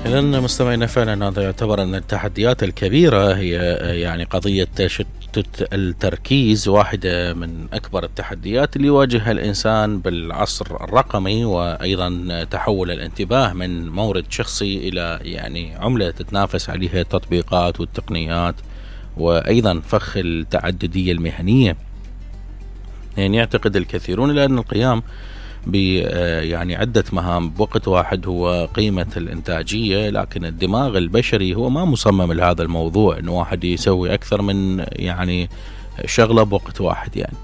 إذا مستمعينا، فعلا هذا يعتبر أن التحديات الكبيرة هي يعني قضية تشتت التركيز، واحدة من أكبر التحديات اللي يواجهها الإنسان بالعصر الرقمي، وأيضا تحول الانتباه من مورد شخصي إلى يعني عملة تتنافس عليها التطبيقات والتقنيات، وأيضا فخ التعددية المهنية. يعني يعتقد الكثيرون إلى أن القيام يعني عدة مهام بوقت واحد هو قيمة الإنتاجية، لكن الدماغ البشري هو ما مصمم لهذا الموضوع، إنه واحد يسوي أكثر من يعني شغلة بوقت واحد. يعني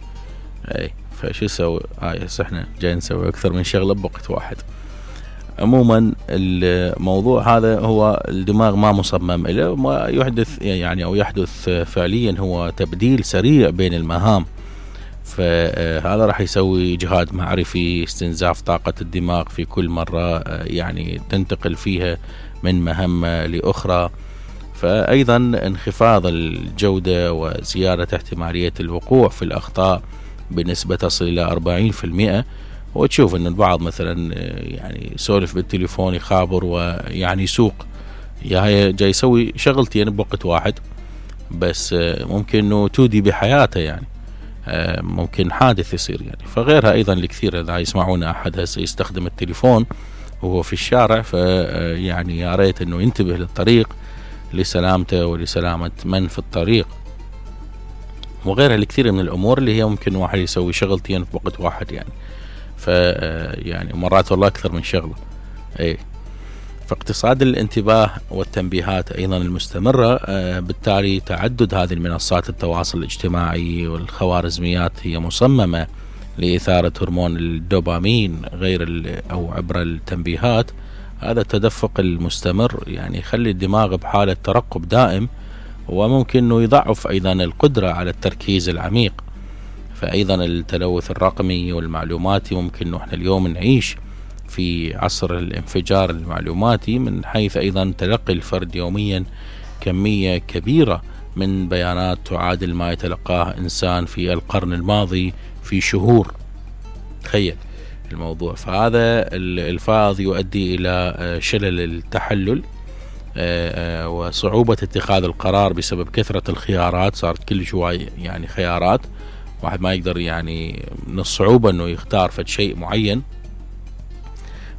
فشو يسوي؟ هسه احنا جاي نسوي أكثر من شغلة بوقت واحد. عموما الموضوع هذا هو الدماغ ما مصمم له، ما يحدث يعني أو يحدث فعليا هو تبديل سريع بين المهام. فهذا راح يسوي إجهاد معرفي، استنزاف طاقة الدماغ في كل مرة يعني تنتقل فيها من مهمة لأخرى. فأيضا انخفاض الجودة وزيادة احتمالية الوقوع في الأخطاء بنسبة تصل إلى 40%. وتشوف أن البعض مثلا يعني يسولف بالتليفون يخابر ويعني يسوق، جاي يسوي شغلتين بوقت واحد، بس ممكن أنه تودي بحياته، يعني ممكن حادث يصير. يعني فغيرها أيضا الكثير، إذا يسمعون أحد هسه يستخدم التليفون وهو في الشارع، فيعني يا ريت أنه ينتبه للطريق لسلامته ولسلامة من في الطريق. وغيرها الكثير من الأمور اللي هي ممكن واحد يسوي شغلتين في وقت واحد، يعني يعني مرات والله أكثر من شغلة. فاقتصاد الانتباه والتنبيهات أيضا المستمرة، بالتالي تعدد هذه المنصات التواصل الاجتماعي والخوارزميات هي مصممة لإثارة هرمون الدوبامين غير أو عبر التنبيهات. هذا التدفق المستمر يعني يخلي الدماغ بحالة ترقب دائم، وممكن أنه يضعف أيضا القدرة على التركيز العميق. فأيضا التلوث الرقمي والمعلوماتي، ممكن أنه احنا اليوم نعيش في عصر الانفجار المعلوماتي، من حيث أيضا تلقي الفرد يوميا كمية كبيرة من بيانات تعادل ما يتلقاه إنسان في القرن الماضي في شهور. تخيل الموضوع. فهذا الفائض يؤدي إلى شلل التحلل وصعوبة اتخاذ القرار بسبب كثرة الخيارات. صارت كل شوي يعني خيارات، واحد ما يقدر يعني من الصعوبة أنه يختار فد شيء معين.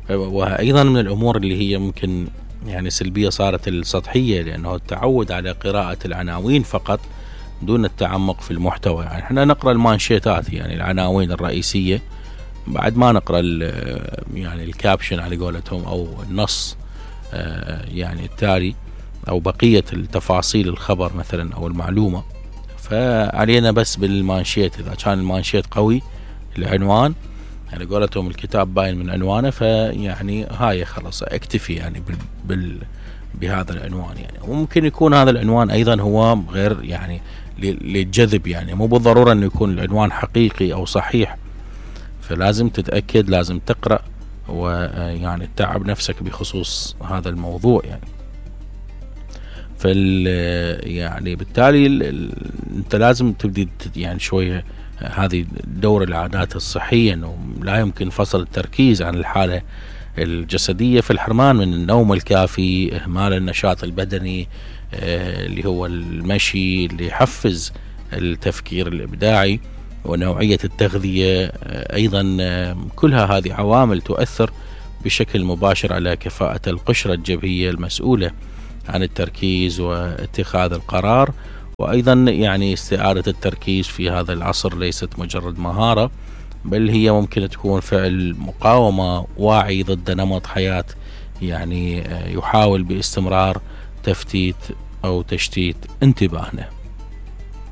وأيضا من الأمور اللي هي ممكن يعني سلبية صارت السطحية، لأنه التعود على قراءة العناوين فقط دون التعمق في المحتوى. يعني احنا نقرأ المانشيتات، يعني العناوين الرئيسية، بعد ما نقرأ يعني الكابشن على قولتهم، أو النص يعني التالي، أو بقية التفاصيل الخبر مثلا أو المعلومة. فعلينا بس بالمانشيت، إذا كان المانشيت قوي العنوان يعني قولتهم الكتاب باين من عنوانه، فيعني هاي خلاص اكتفي يعني بهذا العنوان. يعني وممكن يكون هذا العنوان أيضا هو غير يعني للجذب، يعني مو بالضرورة أنه يكون العنوان حقيقي أو صحيح. فلازم تتأكد، لازم تقرأ، ويعني تتعب نفسك بخصوص هذا الموضوع. يعني يعني بالتالي انت لازم تبدي يعني شوية هذه دور العادات الصحية، انه لا يمكن فصل التركيز عن الحالة الجسدية، في الحرمان من النوم الكافي، اهمال النشاط البدني اللي هو المشي اللي يحفز التفكير الابداعي، ونوعية التغذية ايضا. كلها هذه عوامل تؤثر بشكل مباشر على كفاءة القشرة الجبهية المسؤولة عن التركيز واتخاذ القرار. وأيضا يعني استعادة التركيز في هذا العصر ليست مجرد مهارة، بل هي ممكن تكون فعل مقاومة واعي ضد نمط حياة يعني يحاول باستمرار تفتيت أو تشتيت انتباهنا.